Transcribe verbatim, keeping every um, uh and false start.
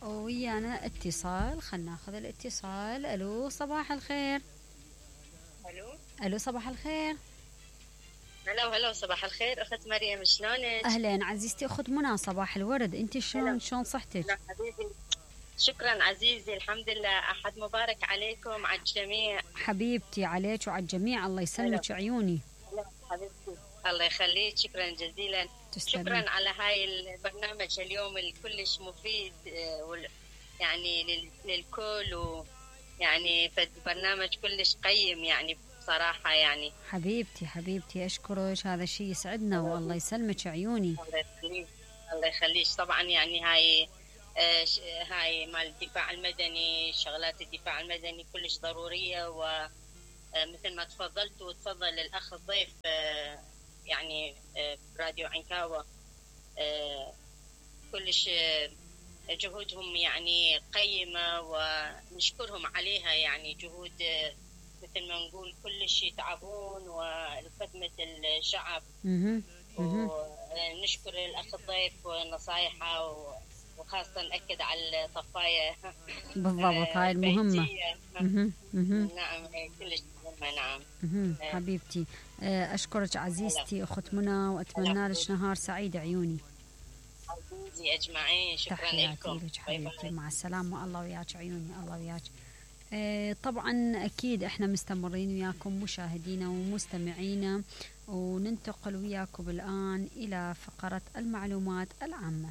ويانا اتصال، خلنا ناخذ الاتصال. الو صباح الخير. الو الو صباح الخير. هلا وهلا وصباح الخير اخت مريم، شلونك؟ اهلين عزيزتي اخت منى، صباح الورد. انت شلون شلون صحتك؟ لا حبيبي، شكرا عزيزي، الحمد لله. احد مبارك عليكم على الجميع. حبيبتي عليك وعلى الجميع، الله يسلمك عيوني. هلا حبيبتي، الله يخليك، شكرا جزيلا. تسلمي. شكرا على هاي البرنامج اليوم الكلش مفيد، آه، وال- يعني لل- للكل، ويعني فد برنامج كلش قيم يعني بصراحة يعني. حبيبتي حبيبتي اشكرك، هذا شيء يسعدنا والله يسلمك عيوني. الله يخليك، الله يخليك. طبعا يعني هاي آه، ش- هاي مال الدفاع المدني، شغلات الدفاع المدني كلش ضرورية، ومثل ما تفضلت وتفضل الأخ الضيف آه، يعني آه، براديو عنكاوة، آه، كلش آه، جهودهم يعني قيمة ونشكرهم عليها، يعني جهود آه، مثل ما نقول كلش يتعبون ولخدمة الشعب. اها اها ونشكر الأخ الضيف ونصايحه، وخاصة نأكد على الطفاية بالضبط، هاي المهمة. بيتية. اها اها نعم كلش مهمة. نعم اها حبيبتي، آه، اشكرك عزيزتي اخت منى، واتمنى لك نهار سعيد عيوني. عزيزي أجمعين، شكرا تحياتي لكم. لك حبيبتي، مع السلامة، الله وياك عيوني، الله وياك. آه، طبعا أكيد إحنا مستمرين وياكم مشاهدينا ومستمعينا، وننتقل وياكم الآن إلى فقرة المعلومات العامة.